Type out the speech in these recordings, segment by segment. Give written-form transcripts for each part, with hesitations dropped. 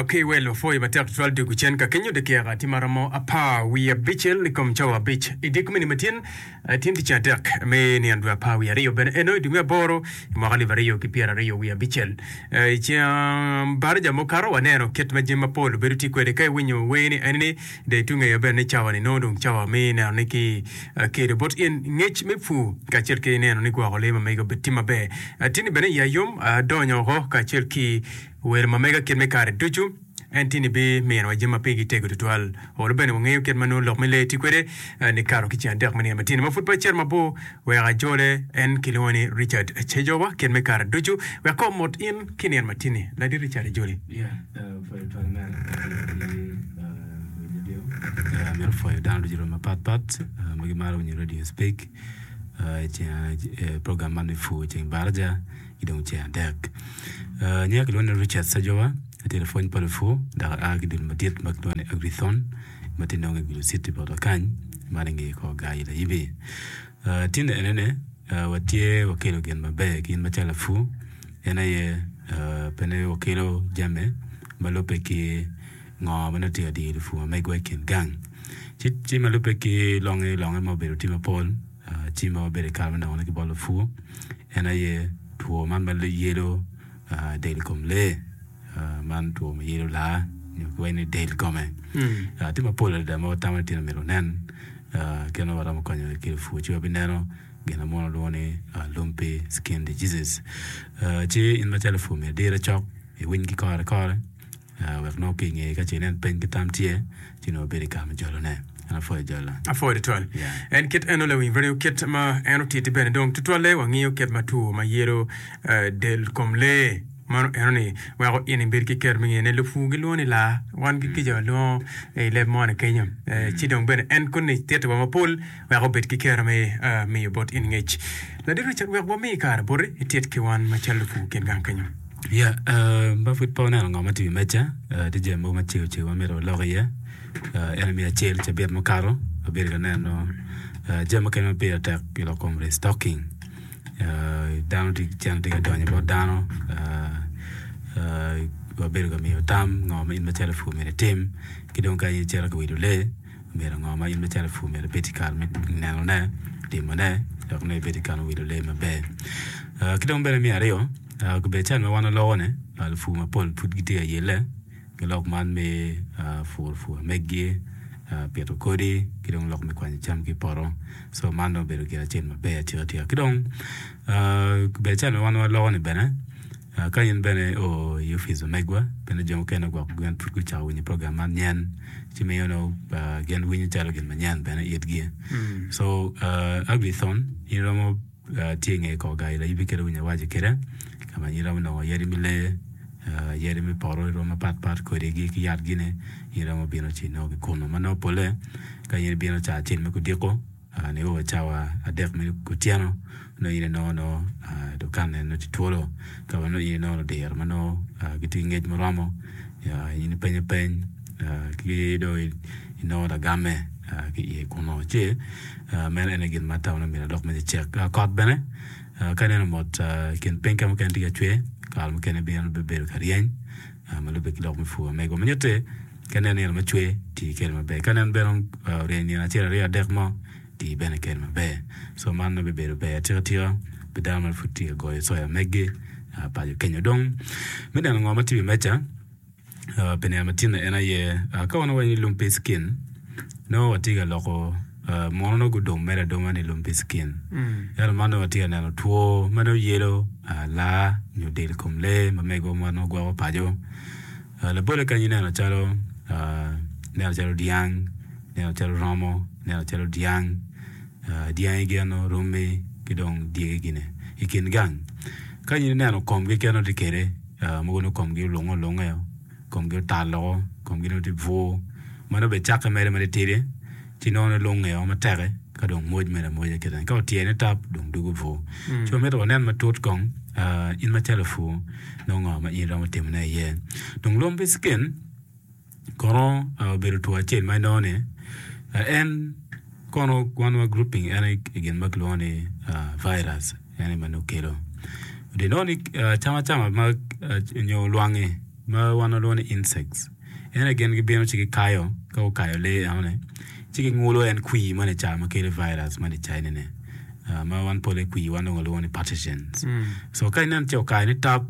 Okay, well, wapwoyo matek tutwal dwogo cen ka kenyo dakika tye maromo apar wiye abicel i kom cawa abic i dye komini matin tin tic adek me nino dwe apar wiye aryo bene eno i dwe me aboro i mwaka alip aryo ki pyeraryo wiye abicel. I ceng baraja mukato waneno kit ma jami mapol obedo tye kwede ka iwinyo wer ni eni ni dong itye ngeyo bene ni cawa ni nongo dong cawa me neno ni ki kelo bot in ngec me pur kacel ki neno ni gwoko lee ma mege obed tye maber. Tini bene iya yom adonyo oko kacel ki welo ma mega kit me kare ducu. En tini biminowa jami ma pigi tego tutwal. Olo bene wangeyo kit ma nongo lok me lee tye kwede nikato ki ceng adek me nino matino ma pud pe acito mabor wek ajole. En kilwongo ni Richard Cejowa kit me kare ducu. Wek kong omot in ki nino matini. Ladit Richard ijoli. Amito pwoyo dano ducu mapat pat ma gimaro winyo radio speak i program man me pur ceng baraja. ki dong ceng adek. Nyinga kilwongo ni Richard Sejowa, atye lapwony pa lupur dok aa ki dul madit ma kilwongo ni Agrithon ma tye nonge i Gulu City botwa kany ma inge kor gar Layibi. Tin enene watye wakelo gin maber ki in macalo lapur en aye pe ni wakelo jami ma lubbe ki ngo ma nongo tye ka diyo lupur ma megwa i kin gang ci ma lubbe ki longe longe ma obedo tye mapol. Ci ma wabedo i kare me nongone ki bot lupur en aye two man ma yelo del kom lee, man two ma yelo laa nyo kiwaco ni del kome. Tye mapol adada ma watamo ni tye myero onen kit ma waromo konyo ki lupur ci wabineno gin ma muno lwongo ni lumpy skin diseases. Ci in macalo lapur myero idire cok iwiny ki kore kore. Wek nongo ki i ngeye ka ce inen peny ki tam tye, ci nongo ibedo i kare me jolone. En apwoyo jolo. Apwoyo tutwal. Yeah. En kit eno lawiny radio kit ma en otiti bene dong tutwalle wangiyo kit ma two ma yelo eh, del kom lee mano eno ni weko in ibed ki kero me ngene lupur gilwongo ni laa wan ki kica walwongo i leb moni kenyo eh, ci dong bene en koni titiwa mapol wek obed ki kero me eh, miyo bot in ngec. Ladit Richard wek wami kare boti itit ki wan macalo lupur kin gang kenyo. Ya, ma pud pe waneno ngo ma tye i wi meja, tye jami mogo macego cego ma myero walok iye. En aye me acel, cabit mukato abedo ka neno jami mukene ma pire tek i lok kom restocking. Dano tye cente tye ka donyo bot dano, wabedo ka miyo tam ngo ma in macalo lapur myero itim ki dong ka in icito ka wilo lee myero ngo ma in macalo lapur myero ibed ki kare me nenone, timone wek nongo ibed ki kare me wilo lee maber. Ki dong bene me aryo, Obedo calo ma wan waloko-ni, lupur mapol pud gitye ka yelle ki lok man me puro pur meggi, pito kodi ki dong lok me kwanyo cam ki i poto. Co man dong obedo gin acel maber atika tika. Ki dong obedo calo ma wan waloko-ni bene, ka in bene io i opic ma megwa, bene jo mukene gwok gin pud gucako winyo program man nyen ci miyo nongo gin winyo calo gin manyen bene itgi. Co Agrithon in iromo Tye i nge kor gayi layibi kit awinyo awaco kwede ka ma in iromo nongo yadi me lee, yadi me poto i rwom mapat pat kodigi ki yatgine in iromo bino ci inongo ki kunu ma nongo polle ka in ibino ca acel me kudiko nio wa cawa adek me kutyeno nongo in inongo nongo dukanne nongo tye twolo ka ma nongo in inongo ludiro ma nongo gitye ki ngec muromo in ipenyo peny ki dong inongo lagamme ki iye kunu ci Meno en aye gin ma atamo ni myero alok me nicek. Kot bene, ka ineno mot i kin piny ka mukene tye ka cwer, kare mukene bino bedo ka ryeny ma lubbe ki lok me pur. Omego ma nyutte ka ineno nino ma cwer, ti kwede maber. Ka ineno bene oryeny nino acel, aryo, adek mo, ti bene kwede maber. Co man nongo bibedo ber atika tika pi dano ma pud tye ka goyo coya megi paco kenyo. Dong me neno ngo ma tye i wi meja, Pi nino matinne en aye, ka wan wawaco ni lumpy skin, nongo watye ka loko muno nongo gudong mere adonga ni lumpy skin. Ento man nongo watye ka neno two ma nongo yelo laa nyo del kom lee ma mego ma nongo gwoko paco. Labolle kany ineno calo ineno calo dyang, ineno calo romo, ineno calo dyang, dyangi gin romi ki dong dyegi gini i kin gang. Ka in ineno komgi kit ma nongo tye kwede. Mogo nongo komgi olunge olunge, komgi otal woko, komgi nongo tye bwur. Ma nongo bene cakke mere ma titidi ci nongo lunge o matek ka dong mwoc mere amwoca kite. Ka otyene tap dong dugo bwur. Ci wamito wanen matut kong in macalo lapur nongo ngo ma in iromo timone iye. Dong lumpy skin Kono obedo two acel ma inongo ni en kono wan wa grouping en i gin ma kilwongo ni virus en aye ma nongo kelo. Inongo ni cam acama ma nyo lwangi. ma wan walwongo ni insects en aye gin gibino ci gikayo ka gukayo lee enoni ci gingulo en kwir moni ca ma kelo virus moni cayine-ni ma wan pole kwir wan dong walwongo ni pathogens. So ka ineno ce okayo ni tap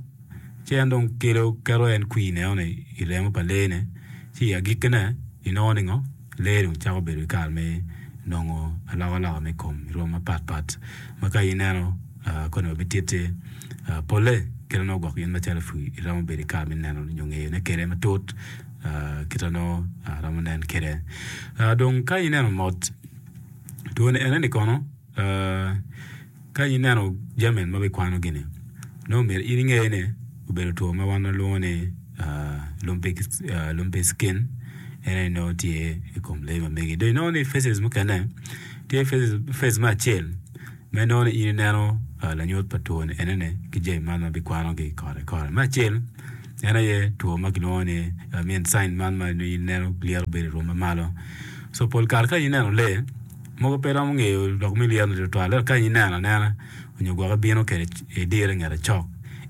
ci en dong kelo keto en kwir enoni i remo pa lee-ni ci i agikkine inongo ni ngo? Lee dong cako bedo ki kare me nongo alokaloka me kom i rwom mapat pat ma ka ineno koni wabititti polle kit ma nongo gwok in macalo pur iromo bedo ki kare me neno nyo ngeyone kwede matut kit ma nongo romo nen kwede. Dong ka ineno mot twoni enoni kono Ka ineno jami ma bikwano gini, nongo myero in inge ni obedo two ma wan walwongo ni lumpy skin en aye nongo tye i kom lee ma megi. Dong inongo ni faces mukene tye face me acel ma inongo ni in ineno lanyut pa two ni enoni ki jami man ma bikwanogi kore ki kore. Me acel en aye two ma kilwongo ni I mean sign man ma in ineno lyeto bedo i rwom ma malo. So pol kare ka in ineno lee Mogo pe romo ngeyo lok me lyeto-ni tutwal, ento ka in ineno anena nyo gwok ibino kwede idire i ngete cok,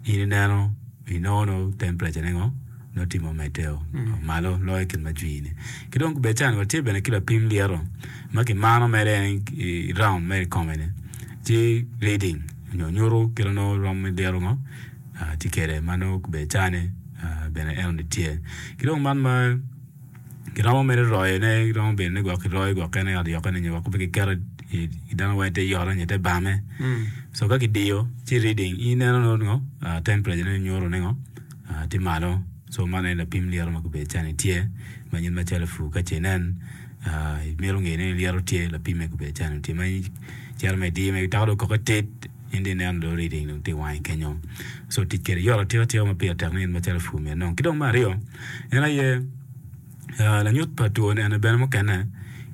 in ineno inongo nongo temperature-ne ngo nongo tye ma omedde malo loyo kit ma jwi-ni. Ki dong bed cani watye bene ki lapim lyeto ma kimano mere en i round mere i kome-ni ci reading nyo nyuto kit ma nongo rom me lyeto ngo tye kwede ma nongo bed cani bene enoni tye. Ki dong man ma Giromo mere royone, giromo bedo ni gwok kiroyo gwok kene ot yokkene nyo gwok pe kiketo i dano weng ite yoto nyo ite bame. So ka kidiyo ci reading in ineno nongo ngo temperature ne nyuto ni ngo tye malo. So man aye lapim lyeto ma gubedo cani tye ma in macalo pur ka ce inen imito ngeyo ni lyeto tye lapime gubedo cani tye ma icito ma idiyo ma itako dong koko tit in dong ineno dong reading dong tye iwangi kenyo. So tic kwede yot atika tika ma pire tek ni in macalo pur myero inong. Ki dong me aryo En aye lanyut pa two eni bene mukene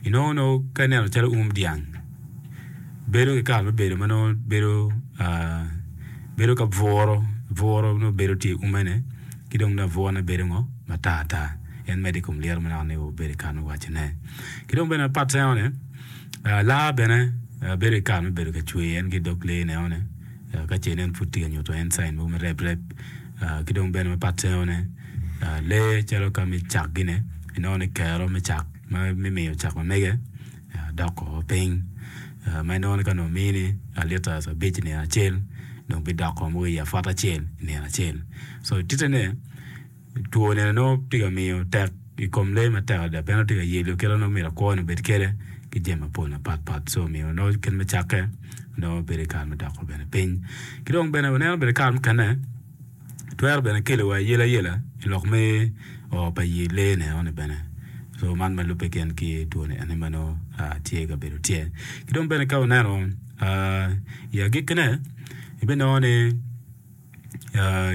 inongo nongo ka ineno calo um dyang bedo ki kare me bedo ma nongo bedo bedo ka bwuro bwuro nongo bedo tye i ume ni ki dong nongo abwurane bedo ngo matar tar en medo i kom lyeto ma naka ni obedo i kare me wacone ki dong bene mapat enoni laa bene bedo ki kare me bedo ka cwer en ki dog lee enoni ka ce nen pud tye ka nyuto en cain mogo me rep rep ki dong bene mapat enoni Lee calo ka me cak gine inongo ni kero me cak me miyo cak ma mege dok o piny ma inongo ni ka nongo omini liters abic i nino acel dong bidoko mogo i apwot acel i nino acel so tite ni two nino nongo tye ka miyo tek i kom lee matek adada pien nongo tye ka yelo kite nongo myero kwo ni obed kwede ki jami mapol mapatpat so omiyo nongo kit me cakke nongo bedo i kare me doko bene piny ki dong bene waneno bene kare mukene. Twero bene kelo wa ayelayela i lok me o pa ye lee ne eno ni bene so man ma lube gin ki two ni eni ma nongo tye ka bedo tye. Ki dong bene ka wuneno i agikki ne ibinongo ni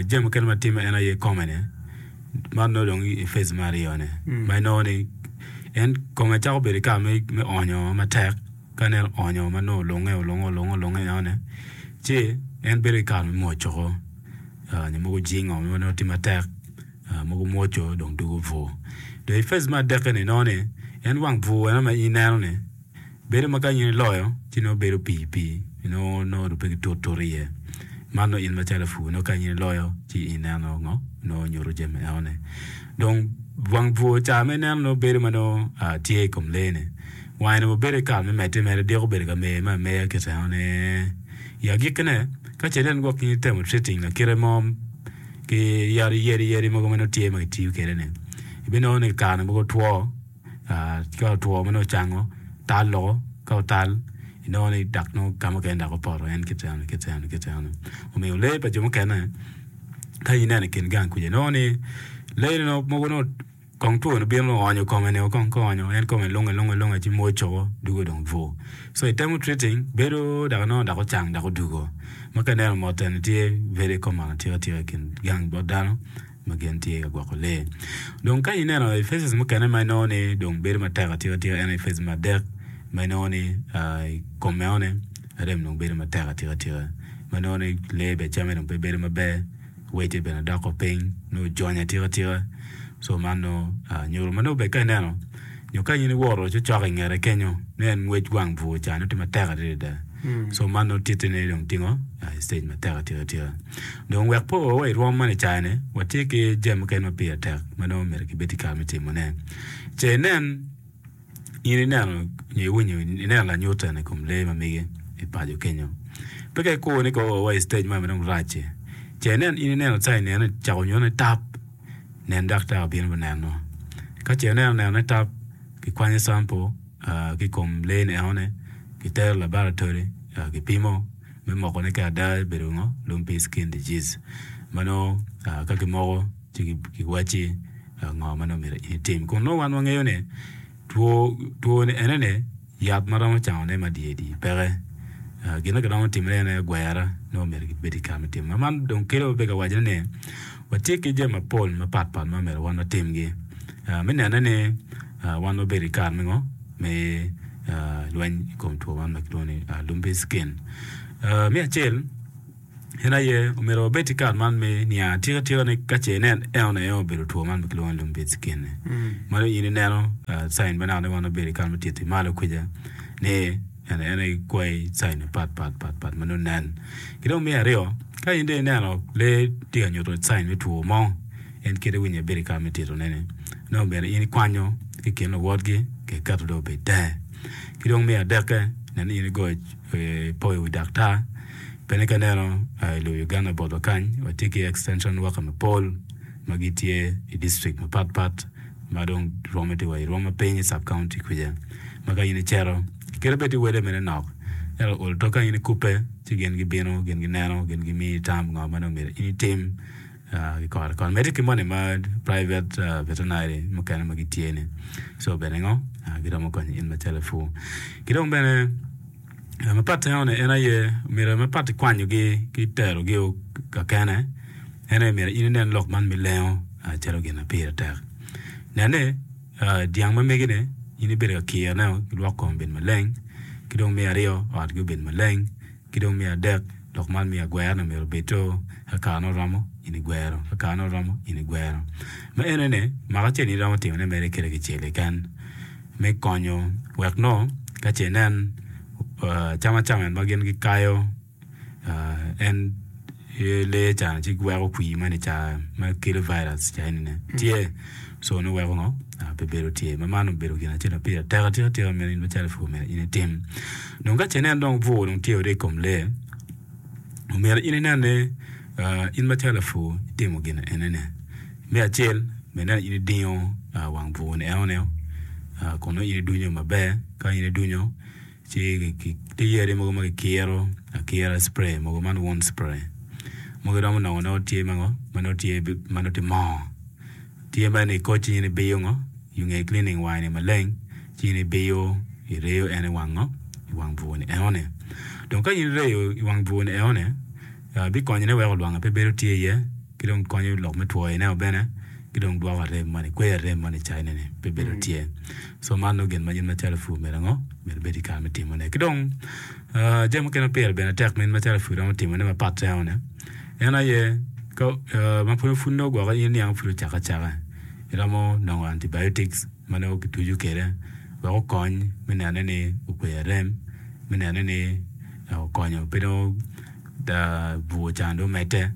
jami mukene ma timme en aye kome ni man nongo dong i phase me aryo ne ma inongo ni en kome cako bedo ki kare me onyo matek. Ka en oonyo ma nongo olunge olunge olunge olunge enoni ci en bedo ki kare me mwoco nyo mogo jingo ma nongo tye matek mogo mwoco dong dwogo bur. Dong i phase me adekke-ni inongo ni en wang bur eno ma in ineno-ni bedo ma ka in iloyo ci nongo bedo pii pii nongo nongo dong pe kitut tut iye. Man nongo in macalo lapur nongo ka in iloyo ci ineno ngo nongo nyuto jami enoni. Dong wang bur ca ma ineno nongo bedo ma nongo tye i kom lee-ni. Wange nongo bedo ki kare me medde mere, diko obedo ka mer me ameya kit eno ni. I agikkine, ka ce nen gwok in itemo treating lakite mo ki yadi yadi yadi mogo ma nongo tye ma kitiyo kwede ni, ibinongo ni kare mogo two, ka otwo ma nongo ocango, tal loko, ka otal inongo ni dok nongo ka mukene dok opoto en kit eno kit eno kit eno. Omiyo lee pa jo mukene ka ineno i kin gang kuca inongo ni lee mogo nongo Kong twoni obino oonyo kome ni kong ka oonyo en kome lunge lunge lunge ci mwoc coko dugo dong bur. So itemo treating bedo dok inongo dok ocang dok odugo. Ma ka ineno mot eni tye very common atika tika i kin gang bot dano ma gin tye ka gwoko lee. Dong ka ineno i phases mukene ma inongo ni dong bedo matek atika tika en aye phase me adek ma inongo ni i kom enoni arem dong bedo matek atika tika ma inongo ni lee bene camme dong pe bedo maber. wece bene doko piny nongo ojony atika tika so man nongo nyuto ma nongo bene ka ineno nyo ka in iwoto cocok i ngete kenyo nongo en ngwec wang bur ca nongo tye matek adada. So man nongo titti ni dong tingo i stage matek atika tika. Dong wek pe oo wa i rwom man i caa-ni, watye ki jami mukene ma pire tek ma nongo myero kibed ki kare me timone. Ce inen in ineno nyo iwinyo ineno lanyut eni i kom lee ma megi i paco kenyo. Pe ka ikur ni ka oo wa i stage man ma dong rac-ci, ce inen in ineno cain eni cako nyuto ni tap, nen daktar obino me neno. Ka ce oneno neno ni tap, kikwanyo sample ki i kom lee ni enoni, kitero i laboratory kipimo me moko ni ka ada obedo ngo lumpy skin disease ma nongo ka kimoko ci kiwacci ngo ma nongo myero in itim. Kun nongo wan wangeyo ni two two-ni enoni yat ma romo cangone ma dye dye peke. Gin ma kiromo timone en aye gwera nongo myero kibed ki kare me timo. Man dong kelo wabedo ka wacone ni watye ki jami mapol mapat pat ma myero wan watimgi me nene ni wan wabedo ki kare me ngo me lweny i kom two man ma kilwongo ni lumpy skin. Me acel en aye omyero wabed ki kare man me niang atika tika ni ka ce inen eno aye obedo two man ma kilwongo ni lumpy skin-ni. Meno in ineno cain ma naka ni wan wabedo ki kare me tito malo kwija ni En aye kwayi cain mapat pat pat pat ma nongo nen. Ki dong me aryo, ka in dong ineno lee tye ka nyuto cain me two mo, en kite winyo ibedo i kare me titone ni nongo myero in ikwanyo ki i kin luwotgi ka iketo dong obed tenge. Ki dong me adekke, nen ni in igoyo ipoyo wi daktar. Pien ka ineno i lobo Uganda botwa kany, watye ki extension worker mapol ma gitye i district mapat pat. ma dong rwomme tye wa i rwom ma piny i sub county kwija ma ka in icito kadi bed ni wele mene nok ento olo to ka in ikubbe ci gin gibino gin gineno gin gimiyi tam ngo ma dong myero in itim ki kore kore medde ki moni ma private veterinary mukene ma gitye ni so bene ngo giromo konyo in macalo epur ki dong bene Mapat enoni en aye myero mapat ikwanyogi ki terogi kakene en aye myero in inen lok man me lengo calo gin ma pire tek. Nen ni dyang ma megi-ni in ibedo ka kirone ki lwok kome obed maleng ki dong me aryo otgi obed maleng ki dong me adek lok man me agwera-ni myero obed ka karene oromo in igwero ka karene oromo in igwero. Ma enoni maka acel in iromo timone mere kede kicel keken. me konyo wek nongo ka ce inen cam acama ma gin gikayo en lee ca ci weko kwir moni ca ma kelo virus ca enini tye co nongo weko ngo pe bedo tye ma man obedo gin acel ma pire tek atika tika myero in macalo epur myero in itim. Dong ka ce inen dong bur dong tye i kom lee omyero in inen ni in macalo lapur itimo gin enini. Me acel, bed ni in idingo wang bur-ni enoni kun nongo in idunyo maber. Ka in idunyo ci tye yadi mogo ma kikiro akira spray mogo man wound spray mogo iromo nongo nongo tye ma ngo ma nongo tye ma nongo tye moo tye mere ni ikoc ci in ibiyo ngo i nge cleaning wange ni maleng ci in ibiyo ireyo en i wang ngo i wang bur-ni enoni. Dong ka in ireyo i wang bur-ni enoni bikonyone weko lwange pe bedo tye iye. ki dong konyo lok me twoyone bene ki dong dwoko arem moni kweyo arem moni cayine ni pe bedo tye so man nongo gin ma in macalo pur myero ango myero ibed ki kare me timone ki dong jami mukene ma pire bene tek ma in macalo pur iromo timone mapat enoni en aye ka ma pud nongo gwoko in niang pud ocake acaka iromo nongo antibiotics ma nongo kituco kwede wek okony me nene ni okweyo arem me nene ni okonyo pe dong Bur can dong omedde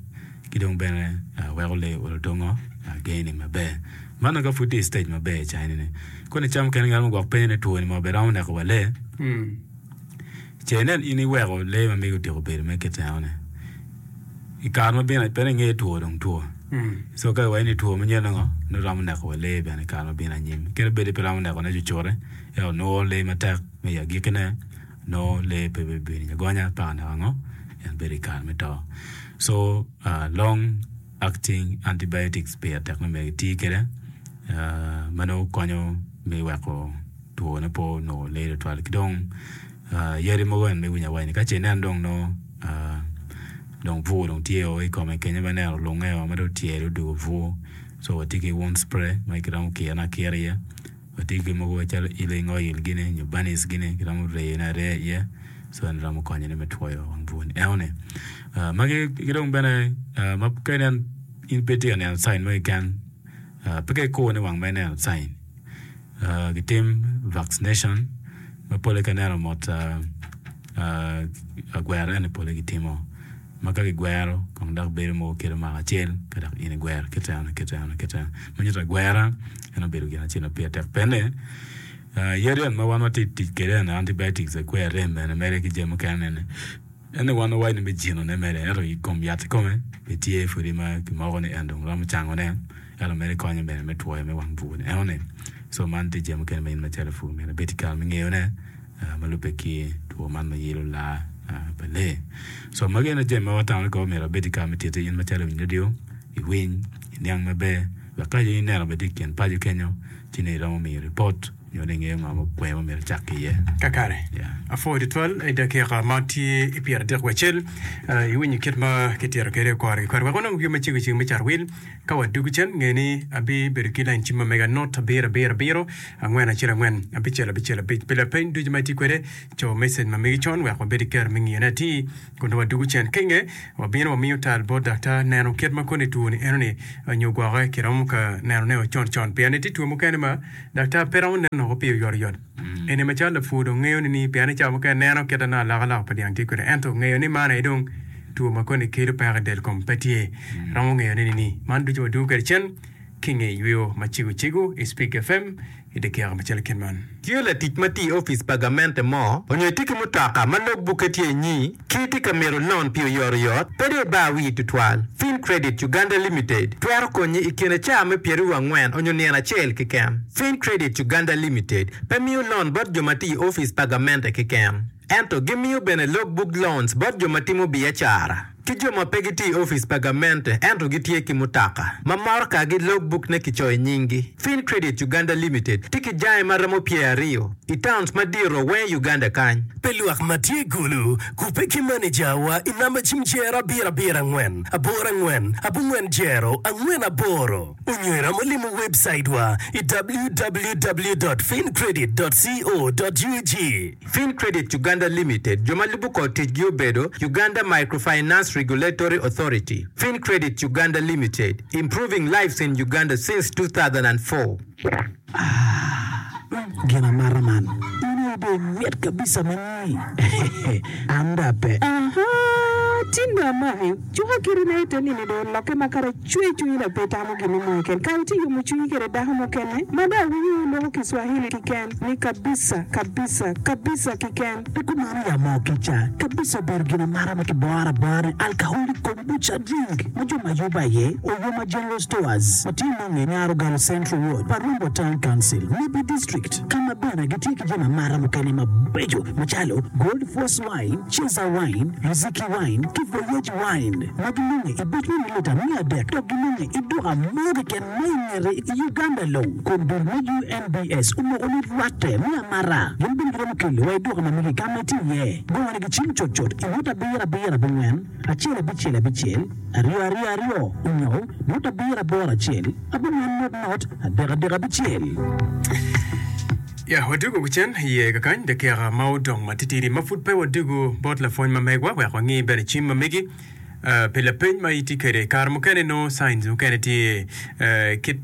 ki dong bene weko lee olo dongo geni maber. Man dong ka pud tye i stage maber i caine ni. Koni ca mukene ngat mo gwok penyo ni two ni mo bene romo neko wa lee. Ce inen in iweko lee ma megi otyeko bedo mere kit eno ni. I kare ma bino pe ni inge two dong two. So ka iwaco ni two manyen ngo nongo romo neko wa lee bene i kare ma bino anyim. Kadi bed ni pe romo neko ne cucute ento nuro lee matek me i agikkine. Nongo lee pe bibedo agonya paka naka ngo en bedo i kare me to. So long acting antibiotics pire tek me myero kiti kwede ma nongo konyo me weko two ne pe onongo lee tutwal ki dong yadi mogo en ma iwinyo awaci ni ka ce inen dong nongo dong bur dong tye o i kome kenyo ma ineno olunge o ma dong otyelo odwogo bur so watye ki wound spray ma kiromo kirone akira iye. Watye ki mogo calo healing oil gini nyo banis gini kiromo reyone areya iye so en romo konyone me twoyo wang bur ni enoni. Magi ki dong bene ma ka inen in pe itye ka neno cain mo keken pe ka ikur ni wang ma ineno cain gitim vaccination ma pole ka ineno mot. Agwero eni pole gitimo ma ka gigwero kong dok bedo mogo kelo mwaka acel ka dok in igwero kit eno kit eno kit eno ma nyuto agwera en obedo gin acel ma pire tek pene yadi eni ma wan watye ka tic kwede eni antibiotics akwer rem bene mere ki jami mukene ni ene wan wawaco ni me jinone mere ento i kom yat kikome pe tye pudi ma kimoko ni en dong romo cangone ento mere konyo bene me twoyo me wang bur ni enoni so man tye jami mukene ma in macalo lapur myero ibed ki kare me ngeyone. ma lubbe ki two man ma yelo laa pa lee. So magi ene jami ma watamo ni kong myero wabed ki kare me titi in macalo lawiny radio iwiny, iniang maber wek ka in ineno bene tye i kin paco kenyo ci nongo iromo miyo ripot nyo ni ingeyo ngo ma kwer ma myero icak ki iye. Kakare, Yeah. apwoyo tutwal i dakika ma tye i pyeradekwacel iwinyo kit ma kitito kwede kore ki kore. Wek wanong yo macego cego me carwil. Ka wadwogo cen, nge ni abibedo ki lain cim ma mega not abiro abiro abiro angwen acel angwen abicel abicel abic. Pi lapeny ducu ma itye kwede, co message ma megi con wek wabed ki kero me ngiyone atir kun dong wadwogo cen. Ka inge, wabino wamiyo tal bot daktar neno kit ma koni two ni enoni nyo gwoke kiromo ka nenone o con con pien itye two mukene ma daktar pe romo neno woko pi oyotoyot. Eni macalo lapur dong ngeyo ni pien i cawa mukene neno kite nongo alokaloka pa dyang tye kwede ento ngeyo ni man aye dong two ma koni kelo peko i del kom pe tye. Romo ngeyo ne ni man ducu wadwogo kwede cen ki nge yweyo macego cego i Spik FM i dyekeka macalo kit man. Tye latic ma tye i opic pa gamente mo onyo itye ki mutoka ma log bukke tye inyi ki itye ka mito lon pi oyotoyot, pe dong ibar wii tutwal. Fin Credit Uganda Limited twero konyi i kine caa me pyeraryo angwen onyo nino acel keken. Fin Credit Uganda Limited pe miyo lon bot jo ma tye i opic pa gamente keken, ento gimiyo bene log book loans bot jo ma timo biacara. Ki jo ma pe gitye i opic pa gamente ento gitye ki mutoka ma morokagi logbuk-ne kicoyo nyinggi. Fin Credit Uganda Limited tye ki jange ma romo pyeraryo i towns madito weng i Uganda kany. Pi lwak ma tye i Gulu, kubbe ki manejawa i namba cim jero abiro abiro angwen aboro angwen abongwen jero angwen aboro onyo iromo limo webcaitwa i www dot fincredit dot co dot ug. Fincredit Uganda Limited, jo ma lubo kor ticgi obedo, Uganda Microfinance Regulatory Authority, Fincredit Uganda Limited, improving lives in Uganda since 2004. Aah gin amata man in aye dong imit kabisa ma ni an dong ape. Ahaa tin dong amaki cuka kiti na ite nini dong olokke ma kara cwer cwinyi dong pe itamo gin mo keken kara itye yomo cwinyi kede dako mukene ma dong awinyo loko kiswahili kiken ni kabisa kabisa kabisa kiken. Pe kumano ya moo kica kabisa obedo gin amata ma kiboro abora ni alcoholic kombucha drink ma jo ma yubo aye Oyoma General Stores ma tye nonge i Nyarogalo Central Ward pa Rombo Town Council, Nebbi District ka ma bene gitye ki jami amata mukene mabeco macalo Gold Force Wine, Ceza Wine, Riziki Wine ki Voyage Wine ma ginonge i buc me milita miya adek dok ginonge i duka mo keken ma i ngete i Uganda long kun dul me UNBS omoko ni rwatte me amata gin bene giromo kelo wa i duka ma megi ka ma itye iye. Gone gi cim cutcut i ngut abiro abiro abongwen acel abicel abicel aryo aryo aryo onyo ngut abiro aboro acel abongwen nut nut adek adek abicel. Ya, wadwogo kucen iye kakany dakika ma odong matitidi ma pud pe wadwogo bot lapwony ma megwa wek wangi bene cim ma megi pi lapeny ma itye kwede. Kare mukene nongo signs mukene tye kit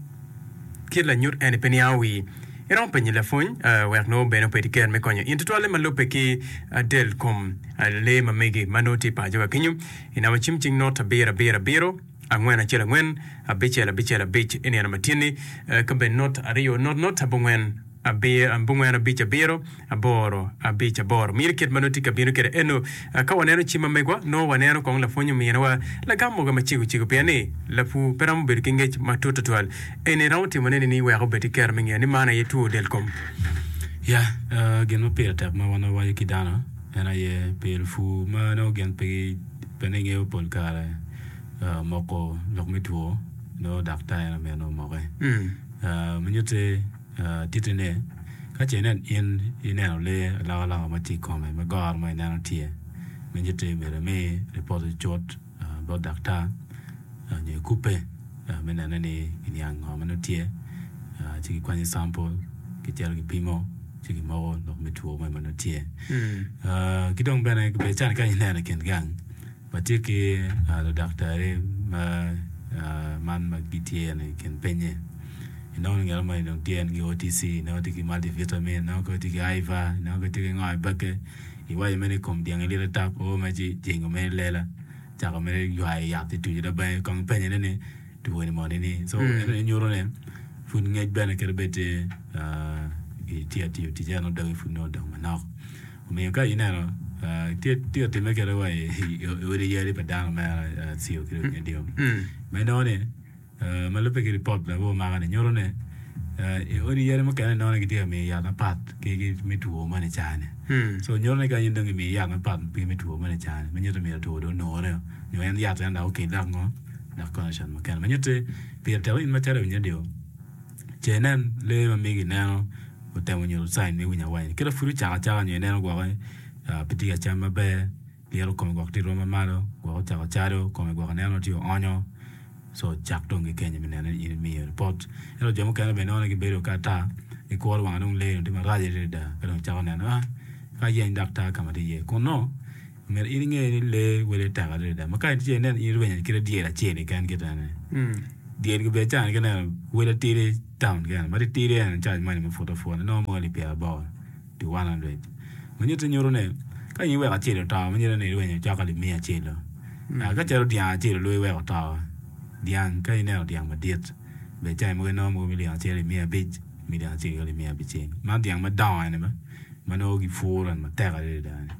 kit lanyut eni pe niango wii. Iromo penyo lapwony wek nongo bene obed ki ker me konyo in tutwalle ma lubbe ki del kom lee ma megi ma nongo tye i paco wa kenyo. I namba cim cing not abiro abiro abiro angwen acel angwen abicel abicel abic i nino ma tye-ni ka bene not aryo not not abongwen abongwen abic abiro aboro abic aboro. Miti kit ma nongo tye ka bino kwede eno. Ka waneno cim ma megwa, nongo waneno kong lapwony ominiwa lagam mogo macego cego pien ni lapur pe romo bedo ki ngec matut tutwal. Eni romo timone nining wek obed ki kero me ngeyo ni man aye two del kom? Ya, gin ma pire tek ma wan wawaco ki dano en aye pi lupur ma nongo gin pe pe ni ngeyo pol kare moko lok me two nongo daktar en aye myero omoke. Ma nyutti Titi ni, Ka ce inen in ineno lee alokaloka ma tye i kome ma goro ma ineno tye, me nyutti myero imi ripot cut bot daktar nyo ikubbe me nene ni kiniang ngo ma nongo tye ci kikwanyo campul kicito kipimo ci kimoko lok me two moni ma nongo tye. Ki dong bene calo ka ineno i kin gang Watye ki ludaktari ma man ma gitye i kin pinye. Inongo ni ngat moni dong tye en ki OTC, inongo tye ki multivitamin, inongo kono tye ki IVA, inongo kono tye ki ngo i bakke. Iwaco mere ni kom dyang ilyete tap oo mere ci jengo mere lela cako mere ywayo yat ituco dok bene kong ipenye ne ni twoni moni ni so eno ni nyuto ni pud ngec bene kadi bed tye itye ka tiyo tic eno dogi pud nongo odong manok omiyo ka ineno tye ka timme kede wa i odi yadi pa dano mere Acio ki dong Nyadio ma inongo ni Ma lubbe ki ripot ma gumako-ni nyuto ni i odi yadi mukene inongo ni gitye ka miyo yat mapat ki me two moni cani. So nyuto ni ka in dong imiyo yat mapat ki me two moni cani ma nyuto ni myero two dong onure nyo en yat en dok okel dok ngo dok condition mukene. Ma nyutti pire tek ni in macalo iwinyo radio ce inen lee ma megi ineno otemo nyuto sign me winyo awanya kit ma pud ocako acaka nyo ineno gwoki pe tye ka cam maber. Lyeto kome gwok tye i rwom ma malo, gwok ocako cado, kome gwok ineno tye oonyo, co cak dong ki kenyo me neno ni in imiyo ripot. Ento jo mukene bene inongo ni gibedo ka ata, gikuro wang dong lee dong tye marac adada ka dong cako neno ah ka ayeny daktar ka ma tye iye. Kun nongo myero in inge ni lee wele tek adada ma ka itye inen in irwenyo kite dyel acel keken kit ene. Dyel gubedo cani ki neno wele tidi town kene ma titidi ene cac moni ma put aputa inongo mogo alip pyeraboro. Pi 100. Ma nyutte nyuto ni ka in iweko acel oto ma nyutte ni irwenyo cok alip miya acel-lu. Ka calo dyang acel olu iweko oto, dyang ka ineno dyang madit bene cayi mogo inongo mogo milion acel alip 500, milion acel ki alip 600. Man dyang madongo eni ba ma nongo gipuro eni matek adada ni.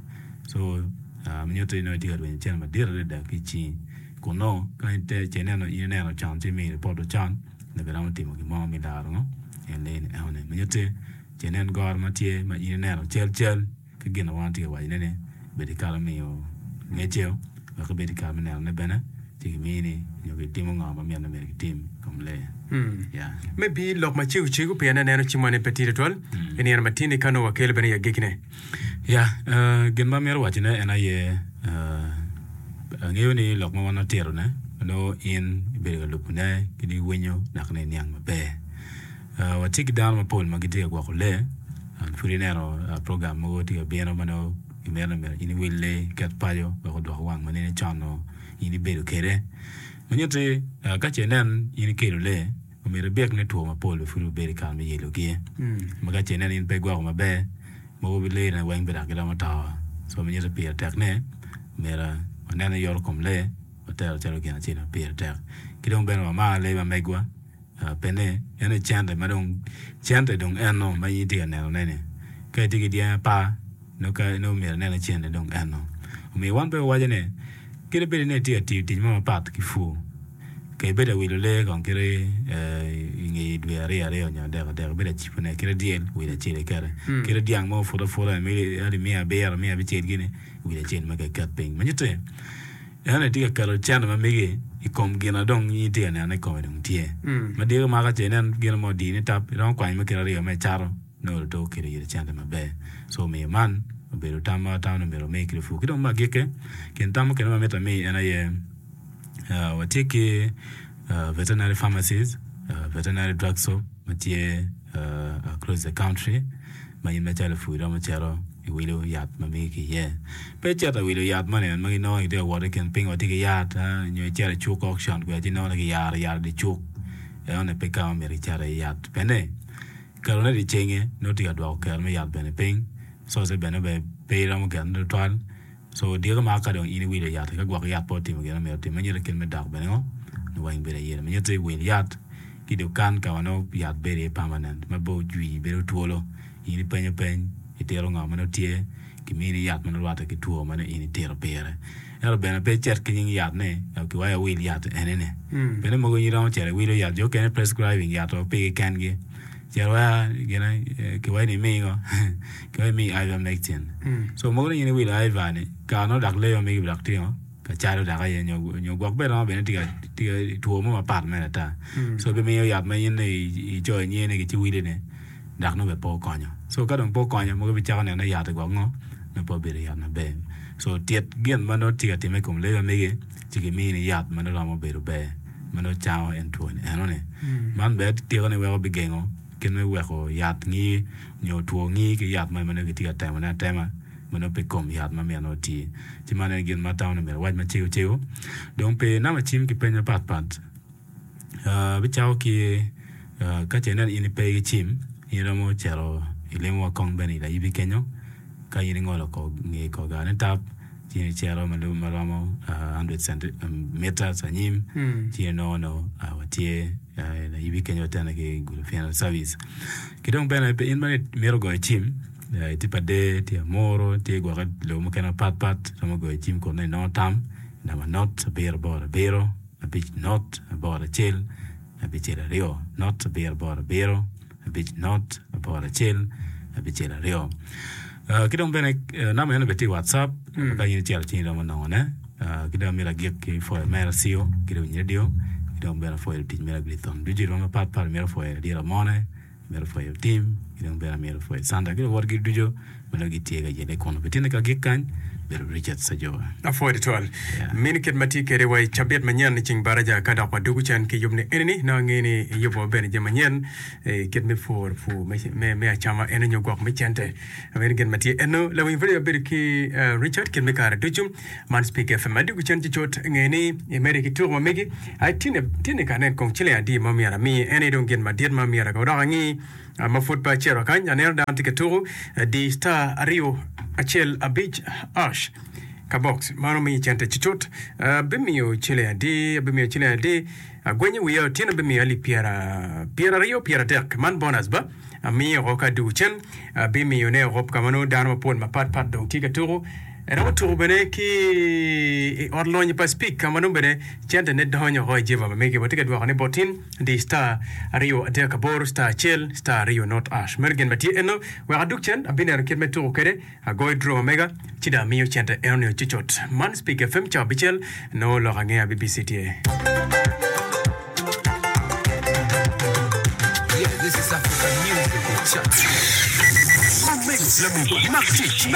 So ma nyutte ni nongo itye ka rwenyo cente madit adada ki i cingi. Kun nongo ka ce ineno in ineno con ci imiyo ripot con nyo giromo timo gin mo me laro ngo en lee ni enoni. Ma nyutte Ci inen goro ma tye ma in ineno cal cal ki gin ma wan watye ka wacone ni bed i kare me miyo ngeceo wek ibed i kare me nenone bene ci gimini nyo gitimo ngo ma mitte myero gitim i kom lee. Yeah. Me bi lok macego cego pien aneno cimwa ni pe tye tutwal i nino ma tye-ni ka nongo wakelo bene i agikkine. Ya, gin ma amito wacone en aye, angeyo ni lok ma wan watito-ne nongo in ibedo ka lubone ki dong iwinyo dok ni iniang maber. Watye ki dano mapol ma gitye ka gwoko lee. Pud ineno program mogo tye ka bino ma nongo gimito ni myero in iwil lee iket paco wek odwok wang ma nene con nongo in ibedo kwede. Ma nyutti ka ce inen in ikelo lee omyero ibik ni two mapol bene pud obedo i kare me yelogi. Ma ka ce inen in pe igwoko maber mogo lee ne weng bene dok giromo to. Co ma nyutti pire tek ni myero wanen ni yoto kom lee watero calo gin acel ma pire tek. Ki dong bene wamar lee ma megwa. Pe ni en aye cente ma dong cente dong eno ma in itye ka neno ne ni ka itye ki dyangi apar nongo ka nongo myero inen ni cente dong eno omiyo wan pe wawaco ni kadi bed ni itye ka tiyo tic mo mapat ki pur ka ibedo ka wilo lee kong kadi inge dwe aryo aryo nyo adek adek ibedo ka cibo ne kadi dyel wilo acel ikete kadi dyang mo oputo aputa alip miya abiro miya abicel gini wilo acel ma iket piny ma nyutte En aye tye ka keto cente ma mege i kom gin ma dong in itye ka neno ni kome dong tye. Ma dyegi omako ce inen gin mo odiyi ni tap, iromo kwanyo me kite aryo me icato nongo dong okelo iri cente maber. So omiyo man obedo tam ma atamo ni myero wami ki lupur. Ki dong me agikki, kin tam mukene ma mito ami en aye watye ki veterinary pharmacies, veterinary drug store ma tye across the country ma in macalo lapur iromo cito iwilo yat ma megi ki iye. Pe icito iwilo yat moni ma ginongo itye ka wot i kin piny wa tye ki yat nyo icito i cuk auction kwede ci inongo ni kiyaro yat i dye cuk enoni pe ka ma myero icit iye yat pien ketone i dye cenge nongo tye ka dwoko kero me yat bene piny source bene pe iromo genone tutwal. So odiko ma ka dong in iwilo yat-ti, ka gwok yat pe otimo gin ma myero otim, ma nyuto kit me dok bene ngo? Nongo weng bedo ayela. Ma nyuto iwil yat ki i dukan ka ma nongo yat bedo iye permanent, ma pe ojwi bedo twolo. In ipenyo peny, itito ngo ma nongo tye, kimini yat ma nongo rwatte ki two ma nongo in itito pire. Ento bene pe icit ki nying yat ni kiwaci awil yat enini. Pien ni mogo in iromo cito iwilo yat, jo okene prescribing yat o pigi kengi. Cito waya gine kiwaci ni imi ngo kiwaci imi ivermectin so mogo ni in iwilo iver ni kare nongo dok lee ma megi dok tye ngo ka calo dok aye nyo gwok bene romo bedo ni tye ka two mo mapat mere ata so bimiyo yat ma in icoyo nyinge ni ci wili ni dok nongo bene pe okonyo so ka dong pe okonyo mogo ibicako neno ni yat-ti gwok ngo nongo pe obedo yat maber so tit gin ma nongo tye ka timme i kom lee ma megi ci gimini yat ma nongo romo bedo ber. ma nongo cango en two-ni enoni. Man bene tiko ni weko bigengo kit me weko yat ngi nyo two ngi ki yat moni ma nongo kitye ka temone atema ma nongo pe kom yat ma myero nongo oti. Ci man aye gin ma atamo ni myero awac macego cego. Dong pi namba cim ki peny mapat pat, abicako ki ka ce ineno in ipe ki cim, in iromo cito ilimowa kong bene i layibi kenyo. Ka in ingolo kor nge kor gar ni tap, ci in icito ma romo 100 meters anyim, ci inongo nongo watye layibi kenyo watene ki Gulu Funeral Service. Ki dong bene in ma imito goyo cim, itye pa der, tye amuru, tye gwoki lobo mukene mapat pat, iromo goyo cim kun nongo inongo tam i namba not abiro aboro abiro abic not aboro acel abicel aryo not abiro aboro abiro. abic not aboro acel abicel aryo. Ki dong bene namba eno bene tye i WhatsApp ka in icito ci iromo nongone. Ki dong amito agik ki pwoyo omera Sio ki dong radio ki dong bene apwoyo lutic me Ragilithon ducu i rwom mapat pat amito pwoyo ladit Amone, amito pwoyo Tim ki dong bene amito pwoyo Sandra ki luwotgi ducu ma nongo gitye ka yelle kunu. Pi tyen ka agik kany bedo Richard Sajowa. Apwoyo tutwal. Mini kit ma tye kwede wa i cabit manyen i ceng baraja ka dok wadwogo cen ki yub ni enini nongo angeyo ni iyubo bene jami manyen i kit me pur pur me acama eno nyo gwok me cente. Meno gin ma tye eno. Lawiny pud aye wabedo ki Richard kit me kare ducu. Man Speak FM. Adwogo cen cucut nge ni imede ki tuko ma megi. Ai tine tine ka anen kong ciling adi ma myero ami. En aye dong gin madit ma myero dok angi. Ma pud pe acito kany, aneno dano tye ka tuko di star aryo acel abic ash ka box mano miyo cente cucut. Abimiyo ciling adi? Abimiyo ciling adi? Agwenyo wiya otyeno abimiyo alip pyera pyeraryo pyeradek. Man bonus ba? Amiyo oko ka adwogo cen abimiyone oko ka ma nongo dano mapol mapat pat dong tye ka tuko. Iromo tuko bene ki i ot lonyo pa Speke ka ma nongo bene centene donyo oko i jeba ma mege. Watye ka dwokone bot in. Di star aryo adek aboro star acel star aryo not ash. Meno gin ma tye eno. Wek adug cen, abineno kit me tuko kwede. Agoyo draw ma mega, ci dong amiyo cente enoni ocucut. Man Speak FM cawa abicel, nongo lok angeya BBC tye. Omego, lamego, mak tic.